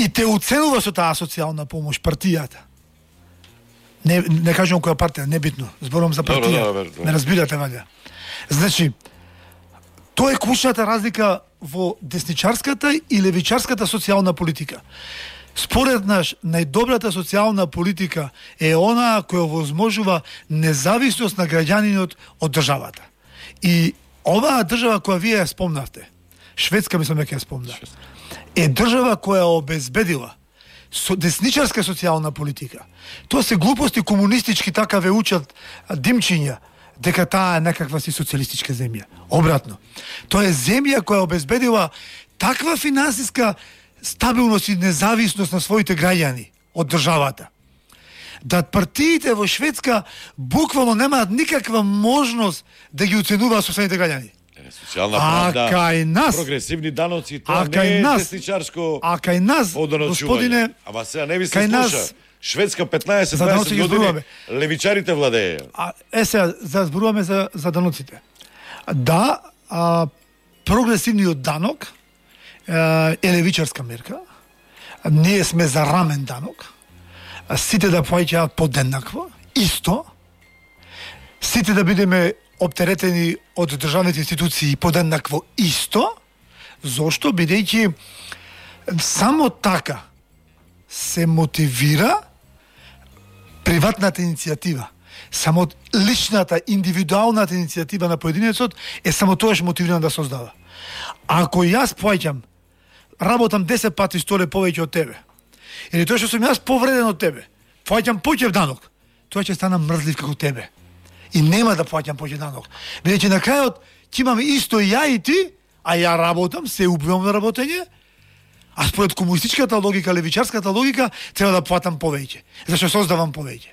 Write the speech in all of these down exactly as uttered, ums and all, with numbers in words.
и те уценува со таа социјална помош партијата. Не, не кажам која партија, небитно. Зборувам за партија. Добре, добре. Не разбирате, ваljа. Значи, тоа е клучната разлика во десничарската и левичарската социјална политика. Според нас, најдобрата социјална политика е она која возможува независност на граѓанинот од државата. И оваа држава која вие ја спомнавте, Шведска, мислам дека ја спомна, е држава која обезбедила со десничарска социјална политика. Тоа се глупости комунистички, така ве учат димчиња, дека таа е некаква си социјалистичка земја. Обратно. Тоа е земја која обезбедила таква финансиска стабилност и независност на своите граѓани од државата, да партиите во Шведска буквално немаат никаква можност да ги оценуваат собствените граѓани. Социјална правда, кај нас, прогресивни даноци, тоа а не е нас, десничарско. А кај нас, господине, ама сега не ви се слуша. Шведска петнаесет дваесет години левичарите владееја. А е сега за зборуваме за за даноците. Да, а, прогресивниот данок е левичарска мерка. Ние сме за рамен данок. Сите да плаќаат подеднакво, исто. Сите да бидеме оптеретени од државните институции подеднакво, исто. Зошто? Бидејќи само така се мотивира приватната иницијатива. Само личната, индивидуалната иницијатива на поединецот е само тоаш мотивирана да создава. Ако јас плаќам, работам десет пати столе повеќе од тебе, или тоа што сум јас повреден од тебе, плаќам поќе данок, тоа ќе стана мрзлив како тебе. И нема да плаќам поќе данок. Бидејќи на крајот ќе имаме исто ја и ти, а ја работам, се убивам на работење, а според комунистичката логика, левичарската логика, треба да платам повеќе, зашто создавам повеќе.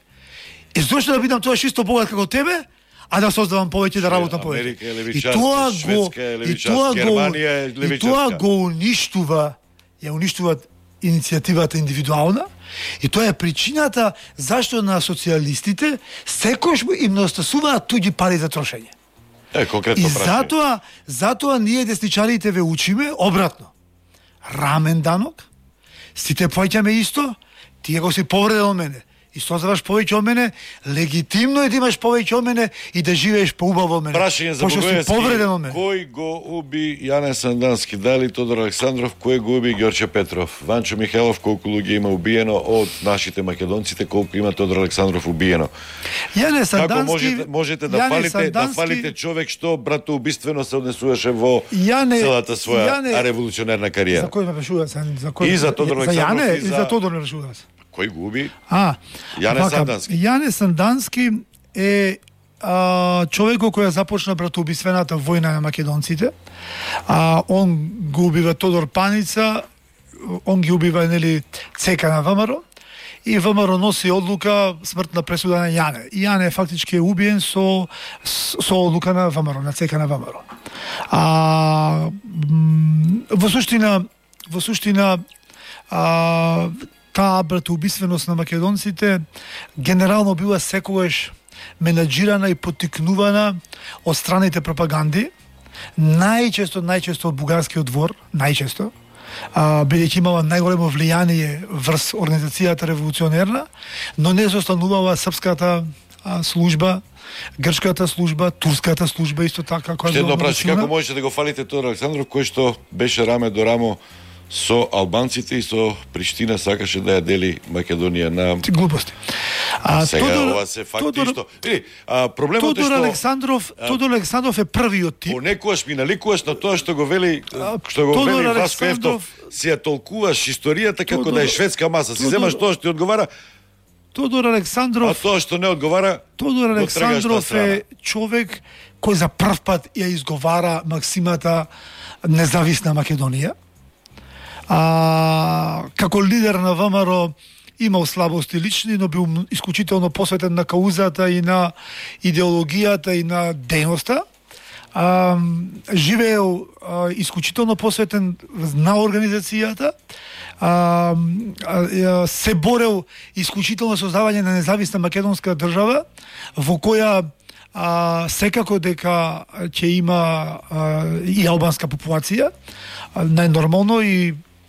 И зошто да бидам тоа исто богат како тебе, а да создавам повеќе, да работам повеќе. И тоа го, и тоа го, и тоа го уништува, ја уништуваат иницијативата индивидуална, и тоа е причината зашто на социјалистите секојаш им недостасуваат туѓи пари за трошење. Е, конкретно и прашање. затоа, затоа ние десничарите ве учиме обратно. Рамен данок, сите плаќаме исто, тие го си повреден од мене, и создаваш повеќе од мене, легитимно е да имаш повеќе од мене и да живееш поубаво од мене. Прашање за Богојевски, кој го уби Јане Сандански, дали Тодор Александров, кој го уби Ѓорче Петров, Ванчо Михайлов, колку луѓе има убиено од нашите македонците, колку има Тодор Александров убиено. Јане Сандански, како можете, можете да Јане фалите, Сандански, да фалите човек што братоубиствено се однесуваше во Јане, целата своја Јане, револуционерна кариера. За кој ме прашува? За кој? И за Тодор за Александров, Јане и или за... за Тодор ме прашува? Кој го уби? А, Јане вака, Сандански. Јане Сандански е а, човекот кој започна братоубиствената војна на македонците. А, он го убива Тодор Паница, он ги убива, нели, цека на ВМРО, и ВМРО носи одлука смртна пресуда на Јане. И Јане фактички е убиен со, со одлука на ВМРО, на цека на ВМРО. А, во суштина, во суштина, а, таа братоубиственост на македонците генерално била секогаш менаџирана и поттикнувана од страните пропаганди, најчесто, најчесто од бугарскиот двор, најчесто, а, бидејќи имала најголемо влијание врз организацијата револуционерна, но не застанувала српската а, служба, грчката служба, турската служба исто така. Ще едно праши, како можете да го фалите Тодор Александров, кој што беше раме до рамо со албанците и со Приштина сакаше да ја дели Македонија на глупости. А, сега Тодор, ова се факти Тодор, што... Или, а, проблемот Тодор е што... Александров, а, Тодор Александров е првиот тип. Понекогаш ми наликуваш на тоа што го вели, што го Тодор вели Васко Ефтов, си ја толкуваш историјата како Тодор, да е шведска маса. Си Тодор, земаш тоа што ти одговара, Тодор Александров... А тоа што не одговара... Тодор Александров е човек кој за прв пат ја изговара максимата независна Македонија. А, како лидер на ВМРО имал слабости лични, но бил исклучително посветен на каузата и на идеологијата и на дејноста. А, живеел а, исклучително посветен на организацијата. А, а, се борел исклучително создавање на независна македонска држава во која а, секако дека ќе има а, и албанска популација, најнормално, и